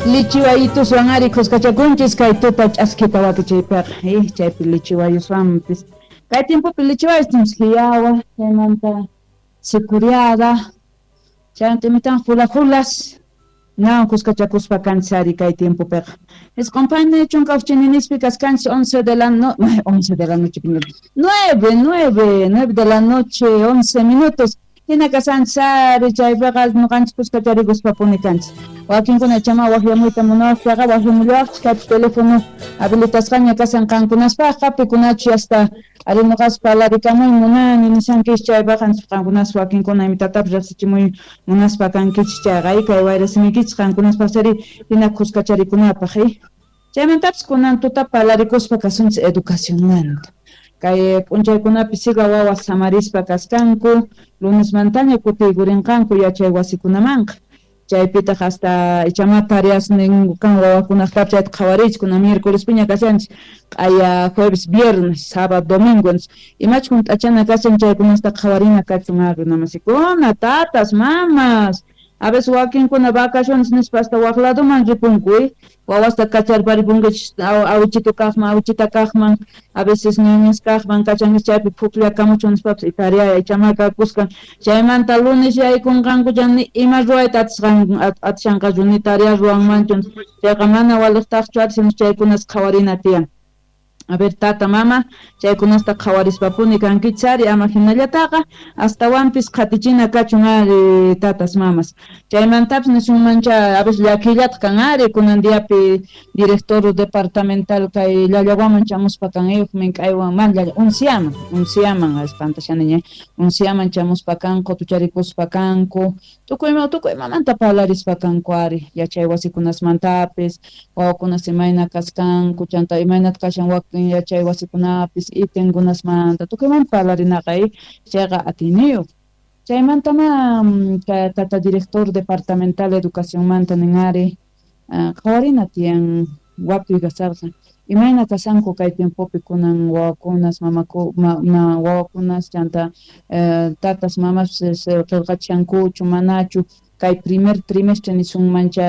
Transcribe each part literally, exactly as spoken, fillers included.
Lichiwayituswan ari kuskachakunchis kay tuta ch'askita wakichaypiqa eh chaypi lichiwayuswanpis kay tiempopi lichiwayus hiyawa chaymanta sicuriada chaymanta imitan julajulas nawan kuskachakuspa kanchis ari kay tiempopiqa isqun chunka ujchininispi kaskanchis once de la no once de la noche nueve nueve nueve de la noche once minutos hina kasanchis ari chaypiqa ñuqanchis kuskacharikuspa kanchis wakinkuna chama waqyamuyta munawaqpiqa waqyamullawaqchis kaypi teléfono habilitasqaña kasan qankunaspaqqa pikunachu hasta ari ñuqaspa parlarikamuy munani nishankichis chaypiqa qankunas wakinkuna imitatapis riqsichimuy munaspa kankichis chayqa kay wayrasimiykichis qankunaspaq chari hina kuskacharikunapaq chaymantapis kunan tuta parlarikuspa kasunchis educacionmanta kay p'unchaykunapi siga wawas samarispa kaskanku lunesmantaña kutiykurinqanku yachay wasikunamanqa chaypitaq hasta ichama tareas ninku kan wawakunaqtapis chayta qhawariychis kunan miércolespiña kashanchis q'aya jueves viernes sábado domingo imachus hunt'achana kashan chaykunasta qhawarina kachun ari runamasikuna tatas mamas a veces wakinkuna vacaciones nispa hasta waq ladoman ripunku wawasta kacharparipunkichis awichito kaqman awichita kaqman a veces ñañas kaqman kachankichis chaypi phukllakamuchun nispapis tarea ichama kakuskan chaymanta lunes yaykunqanku ni ima ruwayta atisqan atishanqachu ni tarea ruwanmanchu chayqa mana waliqtaqchu ari chaykunas qhawarina tiyan. A ver, tata, mama, chaykunasta qhawarispapuni kankichis ari ama hinallataqa astawanpis qhatichina kachun ari tatas mamas chaymantapis nisunmancha a veces llakillataq kan ari kunan diapi director departamental kay Llallawaman chamuspa kan mink'aywan man llalla Unciaman Unciaman espantashaniña Unciaman chamuspa kanku tucharikuspa kanku tukuy tukuy mamanta parlarispa kanku ari yachay wasikunasmantapis wawakunas imayna kaskanku chanta imaynata kashan wakin yachay wasikunapis itenkunasmanta tukuymanta parlarinaqa chayqa atiniyuq chaymantama tata director departamental educacionmanta nin ari qhawarina tiyan watuy kasarqa imayna kasanku kay tiempopi kunan wawakunas mamaku ma wawakunas chanta tatas mamas qillqachankuchu manachu kay primer trimestre nisunmancha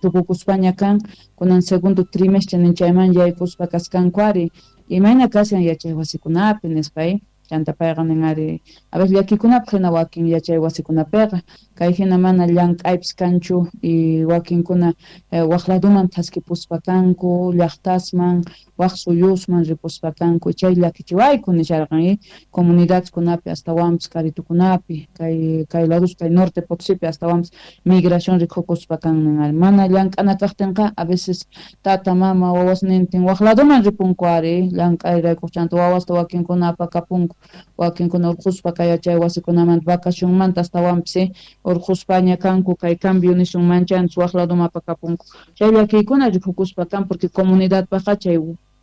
tukukuspaña kan kunan segundo trimestre nin chayman yaykuspa kaskanku ari imayna kashan yachay wasikunapi nispa chanta payqa nin ari a veces llakikunapaq hina wakin yachay wasikunapiqa kay hina mana llank'aypis kanchu y wakinkuna waq laduman thaskipuspa kanku llaqtasman waq suyusman ripuspa kanku chay llakichiwayku nisharqan comunidadkunapi astawanpis karitukunapi kay kay ladus kay norte Potosipi astawanpis migración rikukuspa kan nin ari mana llank'ana kaqtinqa a veces tata mama wawasnintin waq laduman ripunku ari llank'ayraykuq chanta wawasta wakinkuna apakapunku wakinkuna urquspa kay yachay wasikunamanta vacacionmanta astawanpis urquspaña kanku kay cambio nisunmanchanchis waq laduman apakapunku chay llakiykuna rikukuspa kan porque comunidadpaqqa chay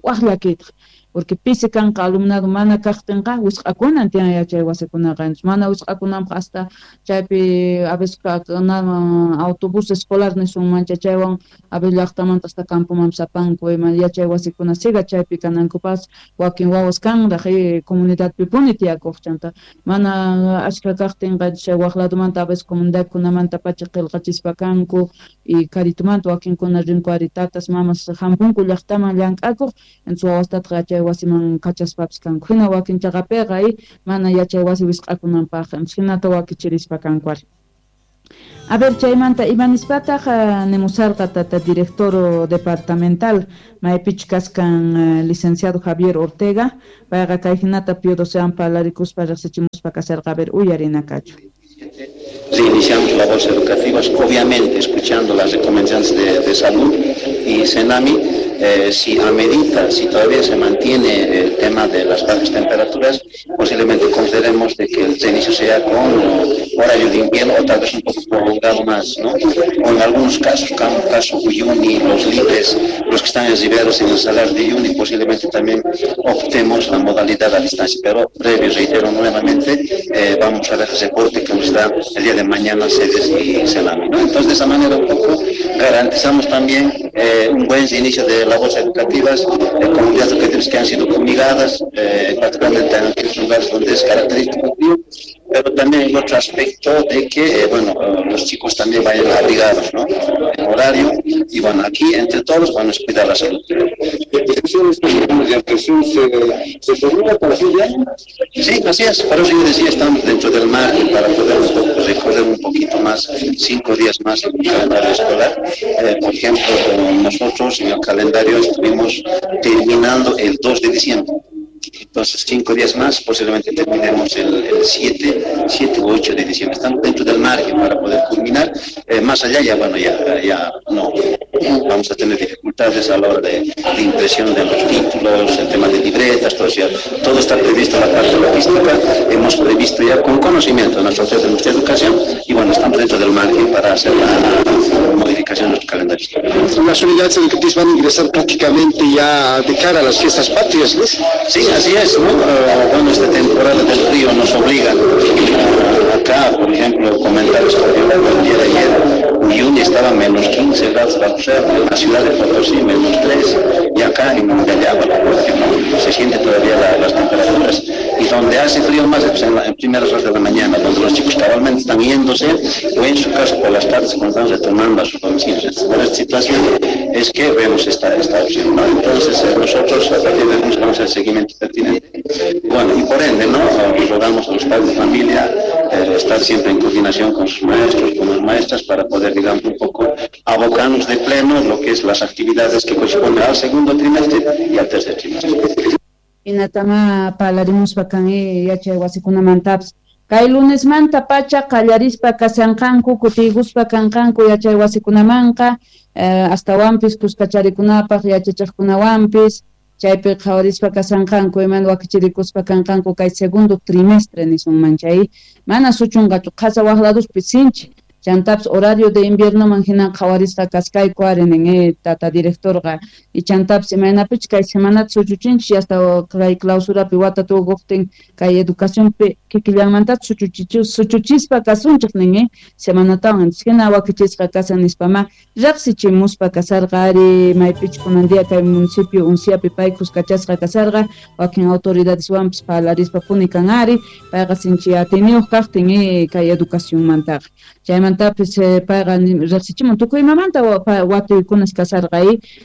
waq llakiytaq porque pisi kanqa alumnado mana kaqtinqa wisq'akunan tiyan yachay wasikunaqa mana wisq'akunanpaq hasta chaypi a veces autobús escolar nisunmancha chaywan a veces llaqtamanta hasta campomanpis apanku ima yachay wasikuna siga chaypi kanankupas wakin wawas kanraq comunidadpipuni tiyakuq chanta mana ashka kaqtinqa chay waq ladumanta a veces comunidadkunamantapacha qillqachispa kanku y karitumanta wakinkuna rinku ari tatas mamas hampunku llaqtaman llank'akuq entonces wawastataq yachay wasiman kachaspapis kanku hina wakin chaqapiqa mana yachay wasi wisq'akunanpaq hinata wakichirispa kanku ari. A ver, chaymanta ima nispataq nimusarqa tata director departamental maypichu kaskan licenciado Javier Ortega payqa kay hinata Pío Docean parlarikuspa riqsichimuspa kasarqa a ver uyarina kachu. Reiniciamos labores educativas, obviamente escuchando las recomendaciones de, de salud y Senami. Eh, si amerita, si todavía se mantiene el tema de las bajas temperaturas, posiblemente consideremos de que el reinicio sea con horario de invierno o tal vez un poco prolongado más, ¿no? O en algunos casos, como el caso Uyuni, los libres, los que están en Riberos, en el Salar de Uyuni, posiblemente también optemos la modalidad a distancia, pero previo, reitero nuevamente, eh, vamos a ver el reporte que nos da el día de mañana sedes y Senami, ¿no? Entonces, de esa manera un poco garantizamos también eh, un buen inicio de labores educativas, eh, comunidades educativas que han sido fumigadas, eh, particularmente en aquellos lugares donde es característico frío, pero también el otro aspecto de que, eh, bueno, los chicos también vayan abrigados, ¿no? En horario, Y bueno, aquí entre todos, bueno, es cuidar la salud. ¿Se, se formula para fin de año? Sí, así es. Por eso yo decía, estamos dentro del margen para poder un poco recorrer un poquito más, cinco días más en el calendario escolar. Eh, por ejemplo, nosotros en el calendario estuvimos terminando el dos de diciembre. Entonces, cinco días más, posiblemente terminemos el, el siete, siete u ocho de diciembre. Estamos dentro del margen para poder culminar. Eh, más allá, ya bueno, ya, ya no. Vamos a tener dificultades a la hora de, de impresión de los títulos, el tema de libretas, todo, ya, todo está previsto en la parte logística. Hemos previsto ya con conocimiento de nuestra autoridad de nuestra educación y bueno, estamos dentro del margen para hacer la modificación de nuestro calendario. Las unidades educativas van a ingresar prácticamente ya de cara a las fiestas patrias, ¿no? Sí, así es, ¿no? Uh, bueno, esta temporada del frío nos obliga. Uh, acá, por ejemplo, comentar esto, el día de ayer, Uyuni estaba a menos quince grados bajo cero, en la ciudad de Potosí menos tres, y acá en Llallagua, no, se siente todavía la, las temperaturas. Y donde hace frío más es en, la, en primeras horas de la mañana, donde los chicos cabalmente están yéndose, o en su caso por las tardes cuando están retornando a sus domicilios. Entonces, por esta situación es que vemos esta, esta opción, ¿no? Entonces, eh, nosotros a partir de lunes vamos a hacer el seguimiento pertinente. Bueno, y por ende, ¿no? Rogamos a los padres de familia eh, estar siempre en coordinación con sus maestros, con las maestras, para poder, digamos, un poco abocarnos de pleno lo que es las actividades que corresponden al segundo trimestre y al tercer trimestre. Hinatama parlarimuspa kan yachay wasikunamantapas. Kay lunesmanta pacha qallarispa kashanqanku kutiykuspa kanqanku yachay wasikunamanqa eh, astawanpis kuskacharikunapaq yachachiqkunawanpis chaypi qhawarispa kashanqanku iman wakichirikuspa kanqanku kay segundo trimestre nisunman chay mana suchunqachu qhasa waq laduspi sinchi chantapas horario de invierno man hina qhawarisqa kaskayku ari nin eh, tata directorqa y chantapas imaynapich kay semanata suchuchinchis hasta kay clausurapi wata tukuqtin kay educacionpi kikillanmanta suchuchichu suchuchispa kasunchik nin eh, semanatawan hina wakichisqa kasan nispama riqsichimuspa kasarqa ari maypich kunan día kay municipio Unciapi pay kuskachasqa kasarqa wakin autoridadeswanpis parlarispa puni kan ari payqa sinchi atiniyuq kaqtin eh, kay educacionmantaqa chaymanta tapis payqa riqsichimun tukuy imamanta watuykunas kasarqa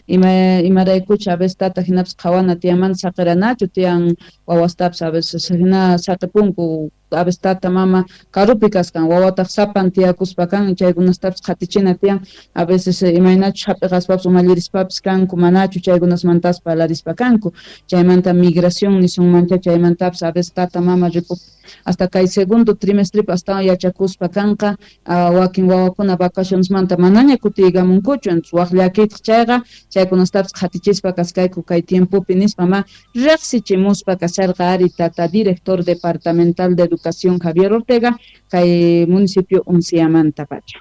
ima imaraykucha a veces tata hinapas qhawana tiyamanta saqiranachu tiyan wawastapas a veces hina saqipunku a veces tata mama karupi kaskan wawataq sapan tiyakuspa kan chaykunastapas qhatichina tiyan a veces imaynachus hap'iqaspapas umallirispapis kanku manachu chaykunasmantas parlarispa kanku chaymanta migración nisunmancha chaymantapas a veces tata mama ripup hasta kay segundo trimestre hasta yachakuspa kanqa wakin wawakuna vacacionesmanta manaña kutiykamunkuchu entonces waq llakitaq chayqa chaykunastapas qhatichispa kaskayku kay tiempopi nispa ma riqsichimuspa kasharqa ari tata director departamental de Educación Javier Ortega kay municipio Unciamanta pacha.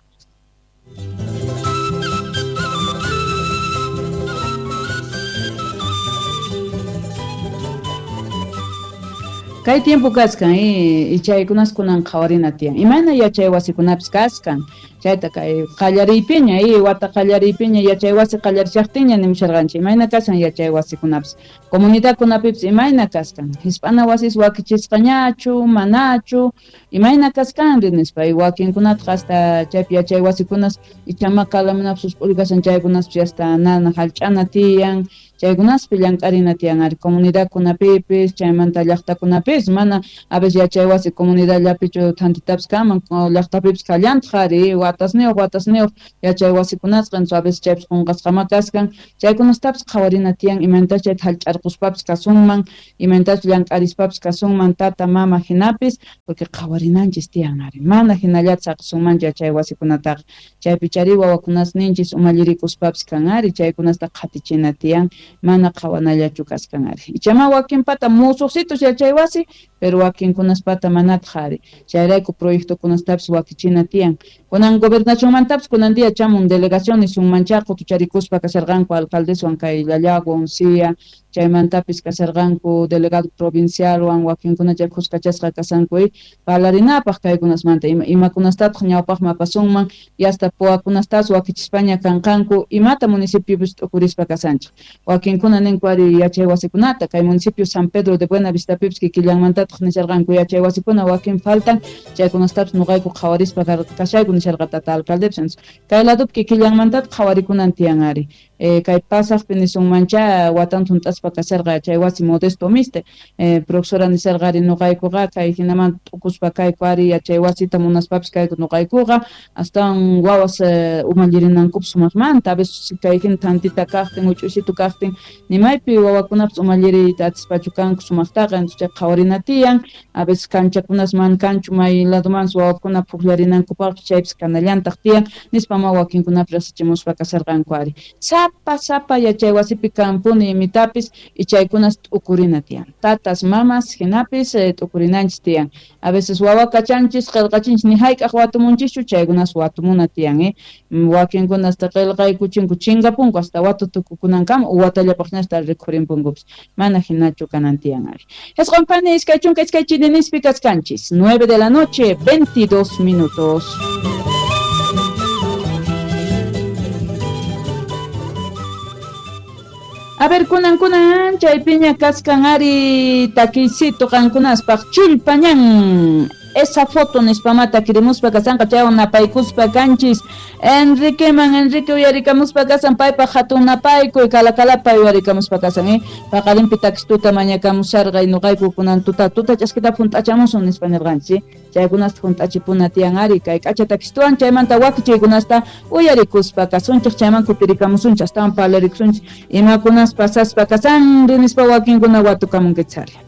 Kay tiempo kaskan eh, y chaykunas kunan qhawarina tiyan imayna yachay wasikunapis kaskan chayta kay qallariypiña eh, wata qallariypiña yachay wasi qallarishaqtiña nimusharqanchik imayna kashan yachay wasikunapis comunidadkunapipis imayna kaskan hisp'ana wasis wakichisqañachu manachu imayna kaskanri nispa y wakinkunataq hasta chaypi yachay wasikunas ichama kalamunapis usp'uri kashan chaykunaspis hasta nana hallch'ana tiyan chaykunaspi llank'arina tiyan ari comunidadkunapipis chaymanta llaqtakunapis mana a veces yachay wasi comunidadllapichu thantitapis kanman llaqtapipis kallantaq ari watasniyuq watasniyuq yachay wasikunasqa entonces a veces chaypis qunqasqama kaskan chaykunastapis qhawarina tiyan imaynatachus chayta hallch'arquspapis kasunman imaynatachus llank'arispapis kasunman tata mama hinapis porque qhawarinanchis tiyan ari mana hinallata saqisunmanchu yachay wasikunataqa chaypi chari wawakunasninchis umallirikuspapis kan ari chaykunasta qhatichina tiyan mana qhawanallachu kaskan ari ichama wakinpata musuqsitus yachay wasi pero wakinkunaspata manataq ari chayrayku proyectokunastapis wakichina tiyan kunan gobernacionmantapis kunan día chamun delegación nisunmancha qutucharikuspa kasharqanku alcaldeswan kay Llallagua, Uncia, Chaymantapis kasharqanku delegado provincialwan wakinkuna chay khuskachasqa kasanku parlarinapaq kaykunasmanta ima imakunastataq ñawpaqman apasunman yasta puwakunastas wakichispaña kanqanku imata municipiopis t'ukurispa kasanchik wakinkuna ninku ari yachay wasikunata kay municipio San Pedro de Buenavistapipis kikillanmantataq nisharqanku yachay wasikuna wakin faltan chaykunastapis nuqayku qhawarispa kashayku nisharqa tata alcaldepis kay ladopi kikillanmantataq qhawarikunan tiyan ari eh, kay pasaqpi nisunmancha watan thunt'aspa kasharqa chay wasi Modesto Miste eh, profesora nisharqa ari nuqaykuqa kay hinaman t'ukuspa kayku ari yachay wasita munaspapis kayku nuqaykuqa astawan wawas eh, umallirinankupis sumaqmanta a veces kay hina tantita kaqtin uch'usitu kaqtin nimaypi wawakunapis umalliriyta atispachu kanku sumaqtaqa entonces chay qhawarina tiyan a veces kanchakunas man kanchu may ladomanpas wawakuna puklarinankupaqpis chaypis kanallantaq tiyan nispa ma wakinkunapis rasichimuspa kasharqanku ari sapa sapa yachay wasipi kanpuni imitapis y chaykunas t'ukurina tiyan tatas mamas hinapis eh, t'ukurinanchis tiyan a veces wawa kachanchis qillqachinchis ni hayk'aq watumunchischu chaykunas watumuna tiyan eh wakinkuna hasta qillqaykuchinku chinkapunku hasta watu tukukunankama watallapaqñasta rikhurinpunkupis mana hinachu kanan tiyan ari Jisq'un phani iskay chunka iskay chirinispi kaskanchis nueve de la noche veintidós minutos. A ver, kunan kunan chaypiña kaskan ari takisito qankunaspaq chullpañan esa foto nispamata kirimuspa kasanqa chaywan napaykuspa kanchis Enriqueman Enrique uyarikamuspa kasan paypaq hatun napaykuy kalakalapay uyarikamuspa kasan eh paqarinpi takistuta mañakamusharqa nuqayku kunan tuta tuta ch'askita hunt'achamusun nispa nirqanchis chaykunasta hunt'achipuna tiyan ari kay k'acha takistuwan chaymanta wakichiykunasta uyarikuspa kasunchik chayman kutirikamusunchik astawan parlarikusunchik imakunas pasaspa kasan nispa wakinkuna watukamunkichari.